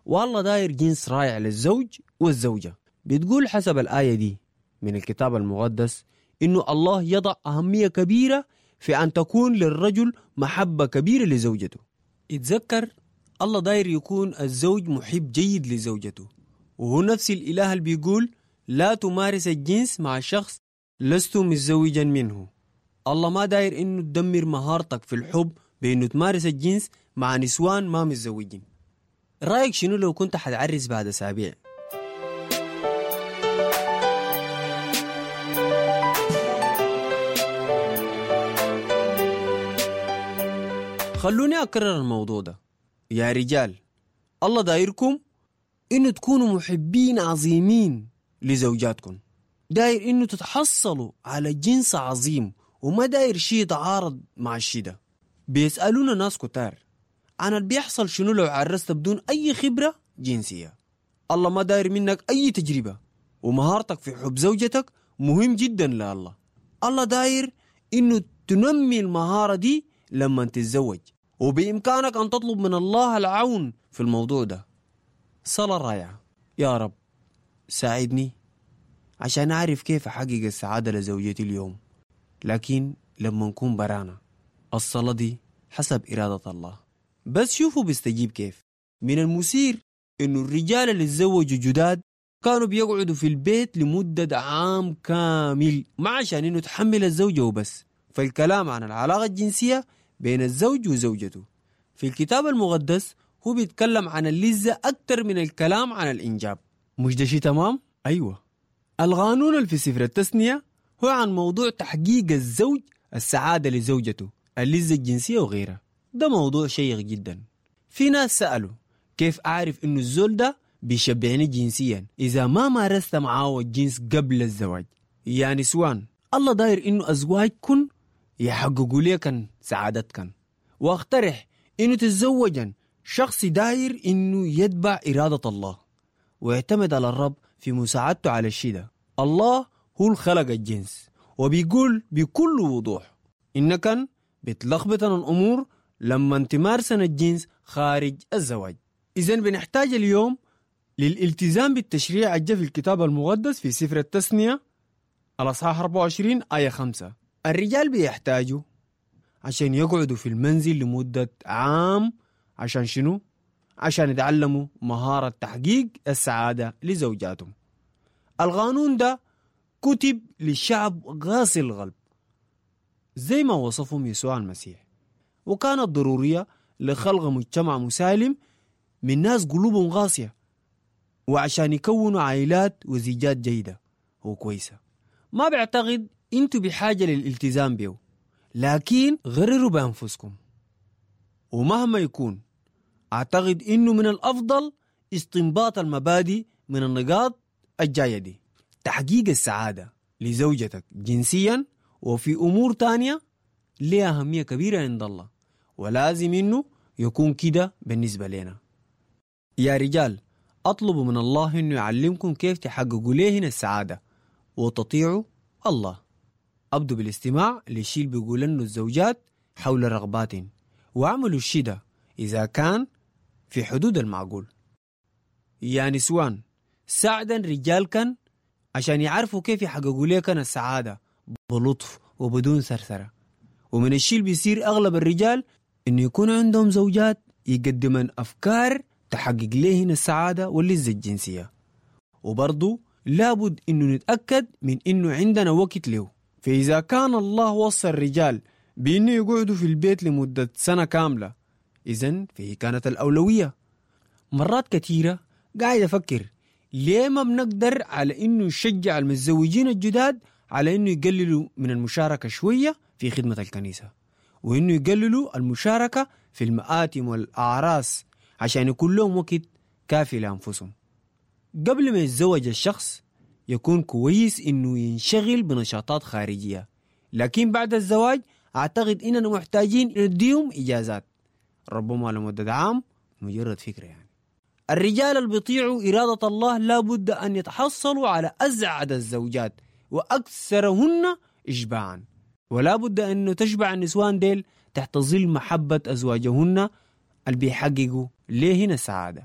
والله داير جنس رائع للزوج والزوجة. بتقول حسب الآية دي من الكتاب المقدس إنه الله يضع أهمية كبيرة في أن تكون للرجل محبة كبيرة لزوجته. اتذكر الله داير يكون الزوج محب جيد لزوجته، وهو نفس الإله اللي بيقول لا تمارس الجنس مع شخص لست متزوجا منه. الله ما داير إنه تدمر مهارتك في الحب بإنه تمارس الجنس مع نسوان ما متزوجين. رأيك شنو لو كنت حتعرس بعد أسابيع؟ خلوني أكرر الموضوع ده يا رجال، الله دايركم إنه تكونوا محبين عظيمين لزوجاتكم، داير إنه تتحصلوا على جنس عظيم، وما داير شيء يتعارض مع الشيء ده. بيسألونا ناس كتار عن اللي بيحصل شنو لو عرست بدون أي خبرة جنسية. الله ما داير منك أي تجربة، ومهارتك في حب زوجتك مهم جدا لله. الله داير إنه تنمي المهارة دي لما تتزوج، وبإمكانك أن تطلب من الله العون في الموضوع ده. صلاة رائعة. يا رب ساعدني عشان أعرف كيف أحقق السعادة لزوجتي اليوم، لكن لما نكون برانا. الصلاة دي حسب إرادة الله، بس شوفوا بيستجيب كيف. من المثير إنه الرجال اللي تزوجوا جداد كانوا بيقعدوا في البيت لمدة عام كامل، ما عشان إنه تحمل الزوجة وبس. فالكلام عن العلاقة الجنسية بين الزوج وزوجته في الكتاب المقدس هو بيتكلم عن اللذة أكتر من الكلام عن الإنجاب. مش ده شيء تمام؟ أيوة. القانون اللي في سفر التثنية هو عن موضوع تحقيق الزوج السعادة لزوجته، اللذة الجنسية وغيرها. ده موضوع شيق جدا. في ناس سألوا كيف أعرف إنه الزول ده بيشبعني جنسيا إذا ما مارست معاه الجنس قبل الزواج؟ يا نسوان، الله داير إنه أزواجكن يحققوا ليكن سعادتكن، واقترح إنه تتزوجن شخص داير إنه يتبع إرادة الله ويعتمد على الرب في مساعدته على الشيء ده. الله هو الخلق الجنس، وبيقول بكل وضوح إنكن بتلخبطن الأمور لما تمارسن الجنس خارج الزواج. إذن بنحتاج اليوم للالتزام بالتشريع الجا في الكتاب المقدس في سفر التثنية الأصحاح 24 آية 5. الرجال بيحتاجوا عشان يقعدوا في المنزل لمدة عام، عشان شنو؟ عشان يتعلموا مهارة تحقيق السعادة لزوجاتهم. القانون ده كتب للشعب قاسي القلب زي ما وصفهم يسوع المسيح، وكانت ضرورية لخلق مجتمع مسالم من ناس قلوبهم قاسية، وعشان يكونوا عائلات وزيجات جيدة وكويسة. ما بعتقد انتوا بحاجة للالتزام به، لكن غرروا بأنفسكم. ومهما يكون أعتقد إنه من الأفضل استنباط المبادئ من النقاط الجاية دي: تحقيق السعادة لزوجتك جنسيا وفي أمور تانية لها أهمية كبيرة عند الله، ولازم إنه يكون كده بالنسبة لنا. يا رجال، أطلبوا من الله إنه يعلمكم كيف تحققوا لهن السعادة وتطيعوا الله. أبدوا بالاستماع للشيء اللي بيقول إنه الزوجات حول رغباتهم، واعملوا الشيء ده إذا كان في حدود المعقول. يا نسوان، ساعدا رجالكن عشان يعرفوا كيف يحققوا لكن السعادة بلطف وبدون ثرثرة. ومن الشيء اللي بيصير أغلب الرجال إنه يكون عندهم زوجات يقدمن أفكار تحقق لهن السعادة واللذة الجنسية. وبرضو لابد إنه نتأكد من إنه عندنا وقت له. فإذا كان الله وصى الرجال بإنه يقعدوا في البيت لمدة سنة كاملة، إذن فهي كانت الأولوية. مرات كثيرة قاعد أفكر ليه ما بنقدر على إنه نشجع المتزوجين الجداد على إنه يقللوا من المشاركة شوية في خدمة الكنيسة، وإنه يقللوا المشاركة في المآتم والأعراس عشان يكون لهم وقت كافي لأنفسهم. قبل ما يتزوج الشخص يكون كويس إنه ينشغل بنشاطات خارجية، لكن بعد الزواج أعتقد إننا محتاجين نديهم إجازات ربما لمدة عام، مجرد فكرة يعني. الرجال اللي بيطيعوا إرادة الله لابد أن يتحصلوا على أسعد الزوجات وأكثرهن إشباعا، ولا بد أن تشبع النسوان ديل تحت ظل محبة أزواجهن اللي بيحققوا ليهن السعادة.